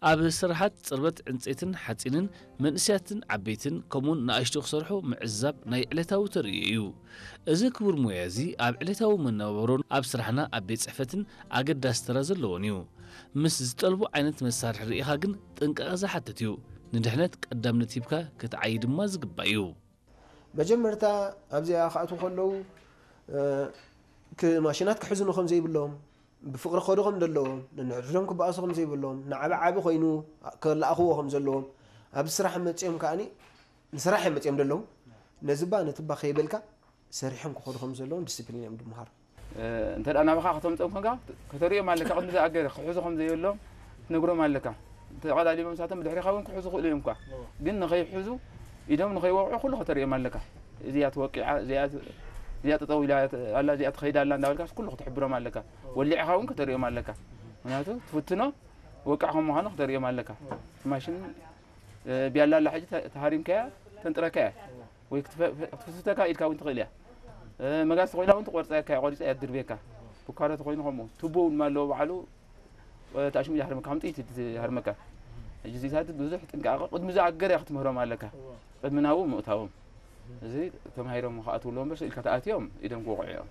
ኣብ ስራሓት ጽርበት ዕንጸይትን ሓጺንን መንእሰያትን ዓበይትን ከምኡውን ንኣሽቱ ክሰርሑ ምዕዛብ ናይ ዕለታዊ ተርእዮ እዩ። እዚ ክቡር ሞያ እዚ ኣብ ዕለታዊ መነባብሮን ኣብ ስራሕና ኣብ ቤት ጽሕፈትን ኣገዳሲ ተራ ዘለዎን እዩ። ምስ ዝጠልቦ ዓይነት መሳርሒ ርኢኻ ግን ጥንቃቐ ዝሓትት እዩ። ንድሕነት ቀዳምነት ሂብካ ክትዓዪ ድማ ዝግባእ እዩ። መጀመርታ ኣብዚኣ ክኣትዉ ከለዉ ማሽናት ክሕዝኑ ከም ዘይብሎም፣ ብፍቕሪ ክኸዱ ከም ዘለዎም፣ ነንሕድሕዶም ክበኣሱ ከም ዘይብሎም፣ ንዓቢ ዓቢ ኮይኑ ክለኣኽዎ ከም ዘለዎም፣ ኣብዚ ስራሕ መጺኦም ከኣ ንስራሕ እዮም መጺኦም ዘለዉ። ነዚ ባ ነቲ ባ ከይበልካ ሰሪሖም ክኸዱ ከም ዘለዎም ዲስፕሊን እዮም ድምሃሩ። እንተ ደኣ ናባኻ ከተምፅኦም ኮንካ ከተርእዮም ኣለካ። ቅድሚ ዝኣገረ ክሕዙ ከም ዘየሎም ትነግሮም ኣለካ። ተቐላሊሎም ንሳቶም ብድሕሪኻ እውን ክሕዙ ክእሉ እዮም እኳ፣ ግን ንኸይሕዙ ኢዶም ንኸይወቕዑ ኩሉ ከተርእዮም ኣለካ። እዚኣ ተወቂዓ፣ እዚኣ እዚኣ ጠጠው ኢላ ኣላ፣ እዚኣ ትኸይድ ኣላ እንዳበልካ ኩሉ ክትሕብሮም ኣለካ። ወሊዕኻ እውን ከተርእዮም ኣለካ። ምክንያቱ ትፍትኖ ወቃዕ ከም ምዃኑ ክተርእዮም ኣለካ። ማሽን ቢያላ ኣላ ሕጂ ተሃሪምካያ ተንጥረካያ ወይ ክትፍትተካ ኢድካ እውን ትኽእል እያ። መጋዝ ተኮይና እውን ትቆርፀካ እያ፣ ቆሪፃ እያ ትድርብየካ። ቡካሮ ተኮይኑ ከምኡ። ቱቦ እውን ኣለዎ ባዕሉ፣ ተኣሽሙ ይሃርመካ፣ ከም ጥይት እዩ ዝሃርመካ። ሕጂ እዚታት ብዙሕ ጥንቃቐ ቅድሚ ዝኣገረ ክትምህሮም ኣለካ። ቅድሚ ናብኡ ምእታዎም። እዚ ተማሂሮም ክኣትዉ ኣለዎም እምበር ስኢልካ ተኣትዮም ኢዶም ክወቕዑ እዮም።